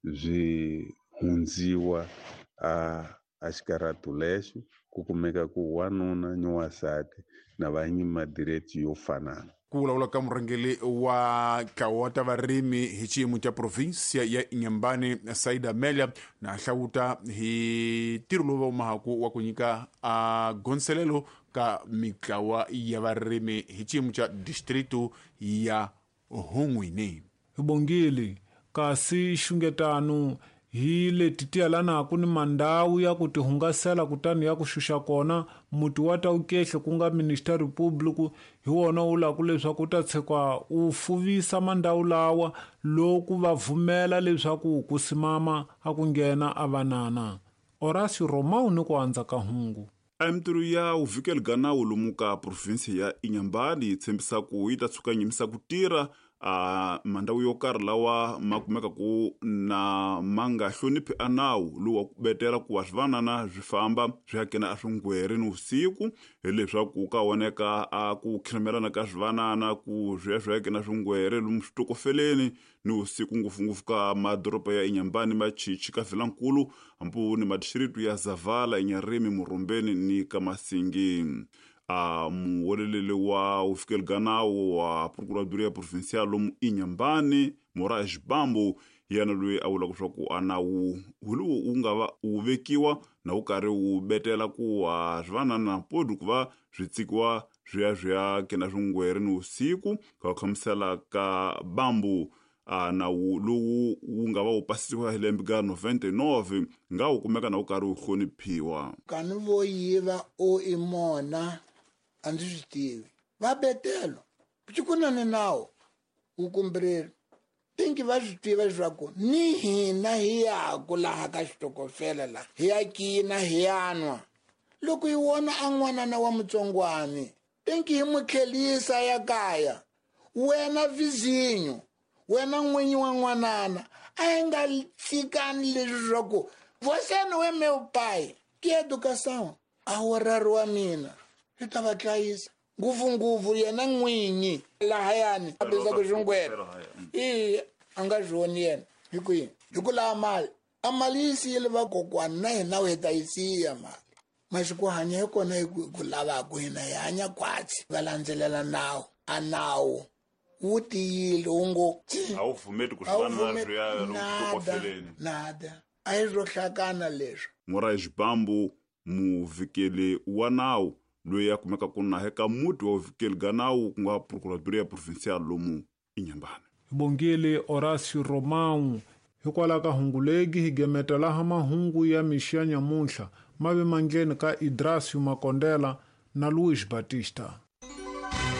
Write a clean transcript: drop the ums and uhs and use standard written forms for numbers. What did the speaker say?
Byi hundziwa a xikaratu lexo ku kumeka ku wanuna ni wansati na va nyima direct yo fanana. Ku vulavula ka murhangeri wa ntlawa wa ta varimi hi xiyimo xa provinsia ya Inhambane, Saida Amelia, na hlawuta hi ntirho lowu va wumahaku wa ku nyika a gonselelo ka mitlawa ya varimi hi xiyimo xa distritu ya Hungwini. Hi bongile, kasi xungetano hi leti ti yelanaku ni mandhawu ya ku tihungasela kutani ya ku xuxa kona muti wa Taukehle ku nga Ministério Público hi wona wu laku leswaku wu ta tshikwa wu fuvisa mandhawu lawa loku va vumela leswaku ku simama a ku nghena a vanana. Horácio Romão ni ku andza ka hungu. A mintirho ya vuvikeli ga nawu lomu ka provinsi ya Inhambane yi tshembisa ku yi ta tshuka nyimisa ku tirha a mandhawu yo karhi lawa ma kumeka ku na ma nga hloniphi a nawu lowu wa ku betela ku wa swivanana swi famba swi ya kena a swingweri ni vusiku hileswaku ka voneka a ku khirimelana ka swivanana ku swi ya swi ya kena swingwere lomu switokofeleni ni vusiku ngopfungopfu ka madoroba ya Inhambane Machichi ka Vilankulu hambi ni madistritu ya Zavala Inharime Murumbeni ni ka Masingi. A muweleleli wa vufikeli ga nawu wa Procuradoria Provincial lomu Inhambane Moraes Bambo hi yena loyi a vulaka leswaku a nawu wu lowu wu nga va wu vekiwa na wu karhi wu betela ku wa swivanana podi ku va swi tsikiwa swi ya swi ya kena swingwere ni vusiku ka ku hlamusela ka Bambo a nawu lowu wu nga va wu pasisiwa hi lembe ka 99 nga wu kumeka na wu karhi wu hloniphiwa. Kani vo yiva o i mona a ndzi swi tivi va betelo ku na ni nawu wu kumbireli tinki va swi tiva leswaku ni hina hi yaku laha ka xitokofela laha hi ya kina hi ya nwa loko hi vona a n'wanana wa mutsongwani tinki hi n'wi tlhelisa ya kaya wena vizinyo wena n'winyi wa n'wanana a hi nga tshikani leswi swa ku você não é meu pai que educação a wu rari wa mina swi ta va dlayisa ngopfungopfu yena n'winyi lahayani a bizaku xingwere i a nga swi voni yena hi kwihi hi ku lava mali a mali yi siyile vakokwana na hina hi ta yi siya mali masiku hanya hi kona hi ku lavaku hina hi hanya khwatsi va landzelela nawu a nawu wu tiyile wu ngo a wu pfumeli ku swi swi ya lomu nada a hi swo hlakana leswi. Moraes Bambo muvikeli wa nawu loyi a kumeka ku na eka muti wa vuvikeli ga nawu ku nga Procuradoria Provincial lomu Inhambane. Hi bongile Horácio Romão hikwalaho ka hungu legi hi gemeta laha mahungu ya mixo ya nyamuntlha ma ve mandleni ka Idracio Makondela na Luiz Batista.